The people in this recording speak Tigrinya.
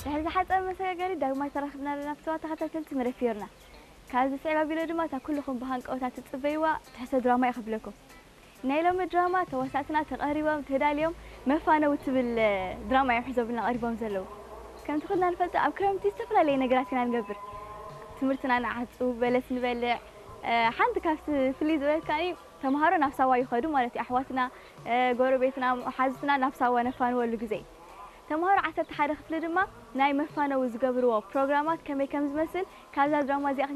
ድሕሪ ዝሓፀረ መሰጋገሪ ዳግማይ ተራኺብና ኣለና። ፍተዋ ተኸታተልቲ መደብ ፊዮርና፣ ካብዚ ስዕብ ኣቢሎ ድማ እታ ኩልኹም ብሃንቀውታ ትፅበይዋ ትሕሰ ድራማ እየ ክብለኩም። ናይ ሎሚ ድራማ ተዋሳእትና ተቐሪቦም ተዳልዮም መፋነው ትብል ድራማ እዮም ሒዞምልና ቀሪቦም ዘለዉ። ከምቲ ኩልና ንፈልጦ ኣብ ክረምቲ ዝተፈላለየ ነገራት ኢና ንገብር። ትምህርትና ንዓጹ፣ በለስ ንበልዕ። ሓንቲ ካብቲ ፍልይ ዝበለካኒ ተምሃሮ ናብ ሳዋ ይኸዱ ማለት እዩ። ኣሕዋትና፣ ጎረቤትና፣ ሓዝትና ናብ ሳዋ ነፋንወሉ ግዜ። ተምሃሮ ዓሰርተ ሓደ ክፍሊ ድማ ናይ መፋነዊ ዝገብርዎ ፕሮግራማት ከመይ ከም ዝመስል ካብዛ ድራማ እዚኣ